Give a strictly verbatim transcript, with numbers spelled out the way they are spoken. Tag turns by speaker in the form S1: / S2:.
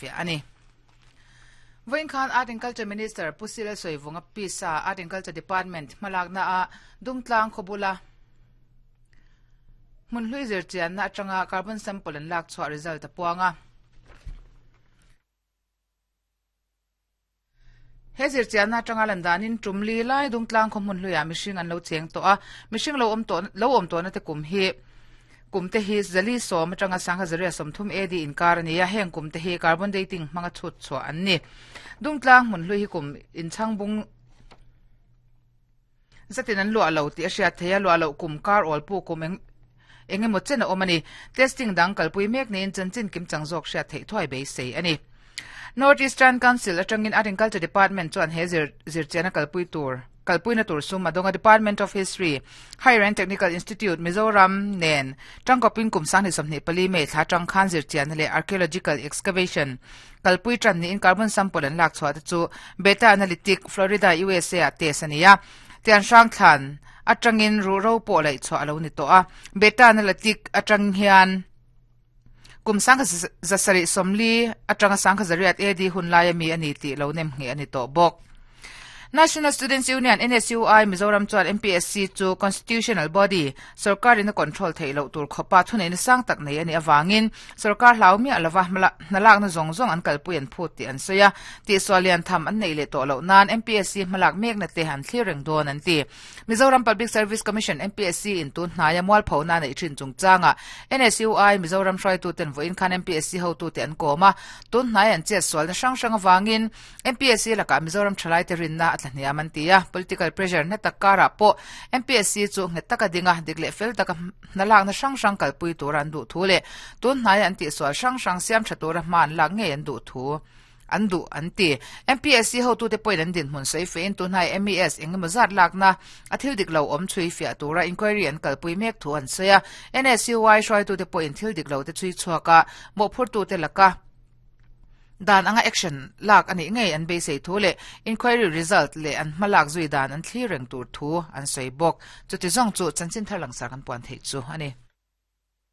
S1: Ani. Vawiin khan Art and Culture Minister Pu C Lalsawivunga Pisa Art and Culture Department hmalakna a Dungtlang khawbula hmun hlui zirchianna atanga carbon sample an lak chhuah result a puang a. He zirchianna atanga lan danin tumli lai Dungtlang khaw hmun hluiah mihring an lo cheng tawh a, mihring lo awm tawh lo awm tawhna te kum hi kum te hi zali sawm atanga sangha zaria sawmthum A D inkar ani a, heng kum te hi carbon dating hmanga chhut chhuah an ni. Dungtlang hmun hlui hi kum inchhangbung zatin an luah lo tih a hriat thei a, luah loh kum kar awl pu kum eng engemaw chen a awm ani. Testing dang kalpui mek niin chanchin kim chang zawk hriat theih thuai beisei ani. North Eastern Council atangin Art and Culture Department chuan he zir zirchianna kalpui tur kalpuina tur sum adonga Department of History Higher and Technical Institute Mizoram nen tangkopin kum sang ni sawmhnih pali mei thla tang khan zirchianna leh archaeological excavation kalpui tran niin carbon sample an lak chhuah te chu Beta Analytic Florida U S A ah test ani a. Tian hrang thlan atangin ru ro pawh laih chhuah alo ni tawh a. Beta Analytic atang hian kum sangkha zasari sawmli atanga sangkha zariat A D hun lai ami ani tih lo nem nge ani tawh bawk. National Students Union N S U I Mizoram chuan M P S C chu constitutional body sarkar in a control thei lo tur khopa thuneina sang tak nei ani awangin sarkar hlau mi alawa hnalak na zong zong an kalpui an phut ti an soya ti swalian tham an nei le to lo nan M P S C hmalak mek na te han thlir don an ti. Mizoram Public Service Commission M P S C in tun hnaya mual phona nei thin chungchanga N S U I Mizoram hrai tu ten voin khan M P S C ho tu te an koma tun hnai an che swal na sang sang awangin M P S C laka Mizoram thalai te rinna atla an ti a. Political pressure na takara po M P S C chu nge taka dinga dikle fel taka nalak na sang sang kalpui tur an du thu le tun hnai an ti swal sang sang siam thatura man lak nge an du thu an du an ti. M P S C ho tu te point an din hmun sei fein tun hnai M E S engemaw zat lak na a thil dik lo awm chui fia tura inquiry an kalpui mek thu an soya. N S U I hruai tu te point thil dik lo te chui chhuaka mo phur tu te laka dan anga action lak ani ngei an beisei thu le inquiry result le an hmalak zui dan an thli reng tur thu an sei bawk. Chuti zawng chu chanchin thar lang sar kan puan thei chu ani.